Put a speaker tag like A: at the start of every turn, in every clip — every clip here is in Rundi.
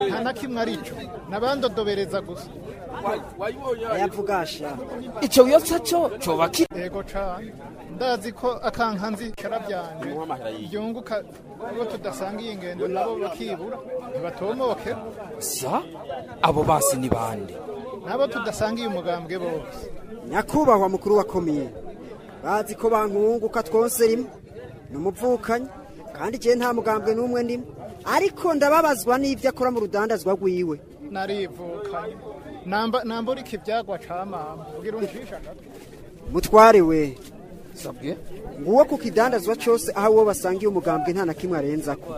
A: Nta na kimwe arico, nabandodobereza gusa.
B: Ayavugasha.
C: Ico wiyotsa co coba ki?
A: Yego cane, ndazi ko akankanzi karavyanje byunguka ubwo tudasangiye ingendo, nabo bakibura ntibatomoke.
C: Sa abo basi ni bande?
A: Nabo tudasangiye umugambwe bose.
B: Nyakubahwa mukuru wa komine, bazi ko bankunguka twose rimwe ni umuvukanyi, kandi jewe nta mugambwe n'umwe ndimo, ariko ndababazwa n'ivyo akora mu rudandazwa rwiwe.
A: Narivukanye, namba namburika ivyagwa ca mama kugira uncisha agatwe.
B: Mutware we.
C: Sabwe.
B: Nguwo ku kidandazwa cose aho uwo basangiye umugambwe nta na kimwe arenzako,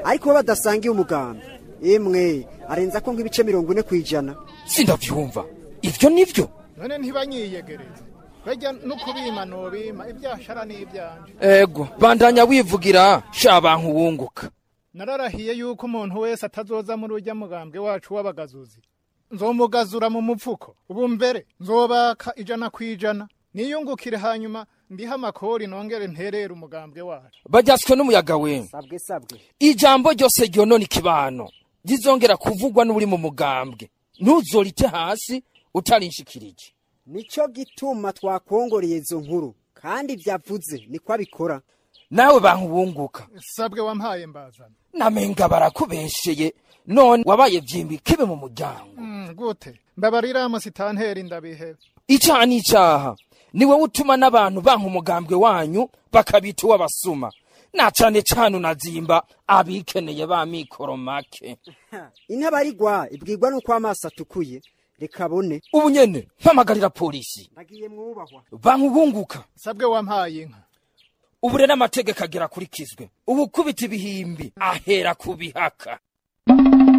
B: ariko uwo badasangiye umugambwe, emwe, arenzako nk'ibice 40%.
C: Sindavyumva, ivyo nivyo?
A: None ntibanyiyegereze bajya no kubima, nobima ivyashara n'ivyanje.
C: Ego, bandanya wivugira sha bantu wunguka.
A: Nararahiye yuko umuntu wese atazoza muri urya mugambwe wacu w'abagazuzi nzomugazura mu mupfuko. Ubu mbere nzobaka 100% niyungukire, hanyuma ndihe amakori, nongere nterere umugambwe wacu.
C: Bajyaswe n'umuyaga we.
B: Sabwe, sabwe.
C: Ijambo ryose ryonona ikibano rizongera kuvugwa n'uri mu mugambwe, ntuzorite hasi utarinshikirije.
B: Nico gituma twakongoreye izo nkuru, kandi vyavuze niko abikora.
C: Nawe bantu wunguka.
A: Sabwe, wampaye mbazana.
C: Namenga barakubesheye, none wabaye vyimbi kibe mu muryango.
A: Gute? Mbabarira musitanteri, ndabihebe.
C: Icaha n'icaha, ni wowe utuma n'abantu banka umugambwe wanyu, bakabita uw'abasuma, na cane cane unazimba abikeneye ba mikoro make.
B: Intabarigwa ibwirwa nuko amaso atukuye, reka abone.
C: Ubu nyene mpamagarira polisi.
B: Ndagiye mwubahwa.
C: Bantu bunguka.
A: Sabwe, wampaye inka.
C: Ubu rero amategeko agera akurikizwe, ubukubita ibihimbi ahera ku bihaka.